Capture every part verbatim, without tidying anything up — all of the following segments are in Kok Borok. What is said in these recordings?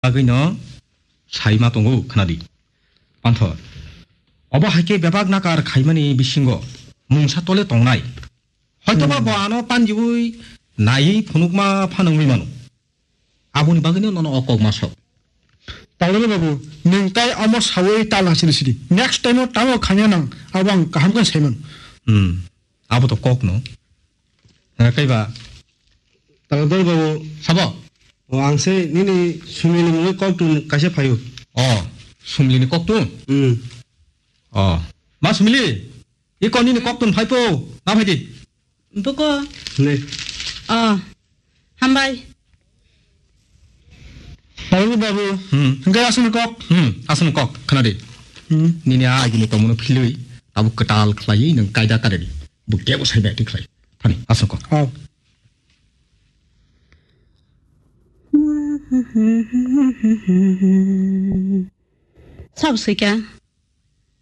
bagwino sai ma tongo, khwnadi. Panthor. Obo hai khe bebak nakar khaimani bisingo mungsa tole tongnai. Hoitoba Hmm. bo ano panjiui naiwi phunukma phano wngwi mano. Aboni bagwino nono o kok ma sao. Talwrwi babu, nwng tai omo saui tal hasili sidi. Next time o tamo khanya nang, abo ang kaham khe sai mano. Hmm. Abo to kok no. Hwnka kaiba. Talwrwi babu. Sabo? O ang se nini Sumili mungwi koktun kaisa phaio. O, Sumili ni koktun? Hmm. O. Ma Sumili, i kon nini koktun phai po, na phai di. Buko. Ne. O, hambai. Babu, babu. Hmm. Hingke aswkni kok? Hmm, aswkni kok, khna di. Hmm. Nini a agini tongmano philwi, abo kwtal khlaiwi nwng kaida kare di. Bo kebo sai bai twi khlai. Thani, aswkni kok. Oh. Sabo swika.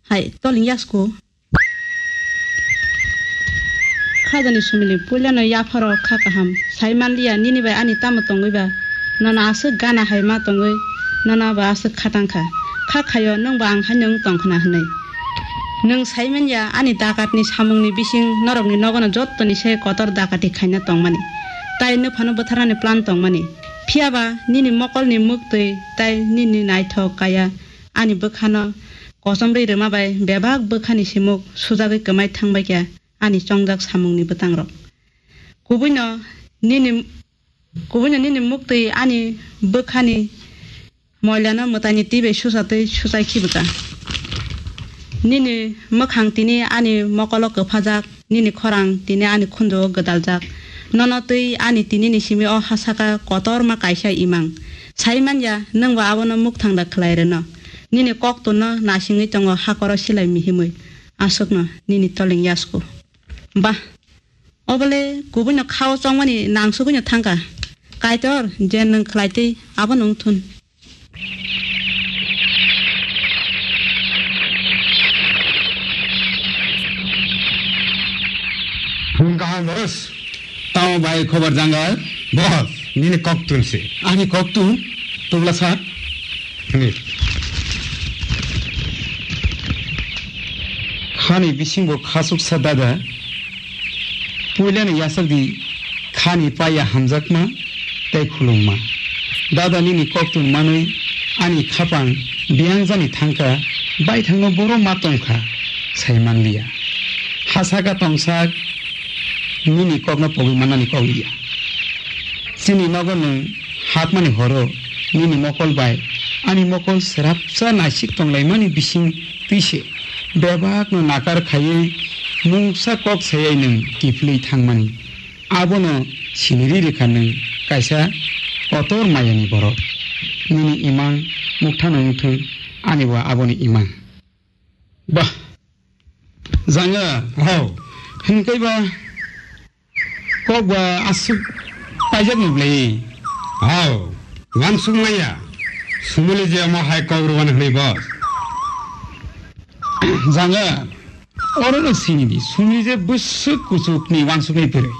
Hai, tolwng yasku. Khajani Sumili, puilano yapharo kha kaham. Sai manliya, nini bai ani tamo tongwi ba? Nono aswk gana hai ma tongwi, nono abo aswk kha tangkha. Kha khaio, nwng bo ang haino wng tongkhna hwnwi. Nwng sai manya, ani dakatni samungni bising norokni nogono jottoni se kotor dakati khaina tongmani. Tai nwphano butharnani plan tongmani. Phiyaba, nini mokolni muktwi tai nini naithok kaya. Ani bwkhano kochomrwi rwma bai bebak bwkhani simuk sujagwi kwmai thangbaikha ani chongjak samungni bwtangrok. Kubuino nini, kubuino nini muktwi ani bwkhani moilano mwtaini twi bai suchatwi suchai khibwkha. Nini mwkhang tini ani mokolo kwphajak, nini khorang tini ani khunjugo gwdaljak. Nono twi ani tinini simi o ha saka kotorma kaisa imang. Sai manya, nwng bo abono mukthang da khlai rwno. Nini koktwno nasingwi tongo hakoro silai mihimwi. Aswkno nini tolwng yasku. Ba, obole kubuino khao chongmani nangsugwino thangkha. Kaitor, je nwng khlai twi abono wng thun. Phung kaham boss. Tamo bai khobar janga? Boss, nini koktun se. Ani koktun? Tubla sa? Ni. Khani bisingo khasuk sa dada. Puilani yasakdi khani paya hamjakma tei khulumma. Dada nini koktun manwi ani khapang biyangjani thangkha, baithangno boro ma tongkha, sai manliya. Ha saka tongsak nini kokno pogwi mannani kok liya. Chini nogo nwng hakmani horo nini mokol bai ani mokol srapsa naisik tonglaimani bising twi se bebakno nakar khaiwi mungsa kok sayai nwng kiphilwi thangmani. Abono siniri rikha nwng kaisa kotor mayani borok. Nini imang mukthano wngthung, ani bo aboni imang. Bah, janga, hao, hinkhe ba kok ba aswk paijak ni bwlai? Hao, wansuk maya, sumuli je omo hai kok rwani hwnwi bo. Janga, oro no sini di, sumuli je bwswk kuchuk ni wansuk ni bwrwi.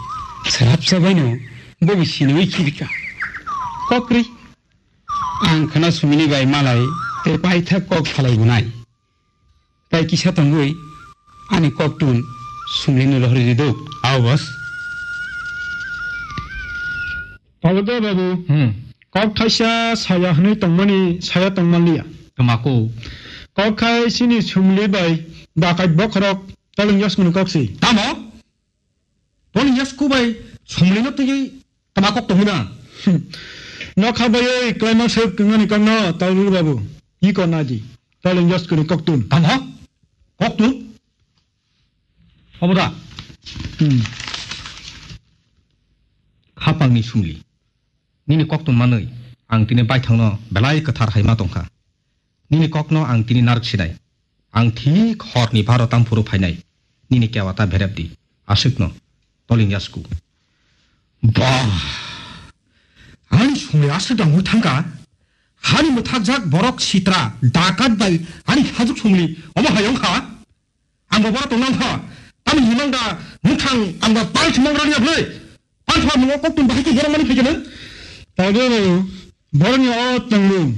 Srapsa bai no, bo bo sini wi khibika. Kok ri. Ang khna sumuli bai malai, te paithak kok salai bunai. Tai kisa tongwi ani koktun sumlini rohorwi riduk. Ao, boss. Pablo babu, Hmm. kok thaisa saya hwnwi tongmani saya tongmanliya. Twmako. Kok khai chini sumli bai dakat bokhorok tolwng yasmani kok si. Tamo? Tolwng yasku bai sumlino twiwi Tama kok tongwi na? Hmm. Nokha bai oi klaima se kwngani kokno Taurul babu. Iko naji. Toleng yaskuni koktun. Tama? Koktun? Obo da? Hmm. Khapangni sumli. Nini koktun manwi ang tini baithangno belai kwthar hai ma tongkha. Nini kokno ang tini narwk sinai. Ang thik horni baro tamphuru phainai. Nini kewa ta berep di. Aswkno. Toleng yasku. Ba. Ani sumli aswk dangwi thangkha. Hani mwthakjak borok sitra, dakat bai ani hajuk sumli omo hai wngkha. Ang bo boro tong nang kha. Tamni himang da muthang ang ba pal thumang rani ablai. Pal thumang mo kok tum bahai khe herang mani phai khe nang. Tawde bo Borokni o tongmung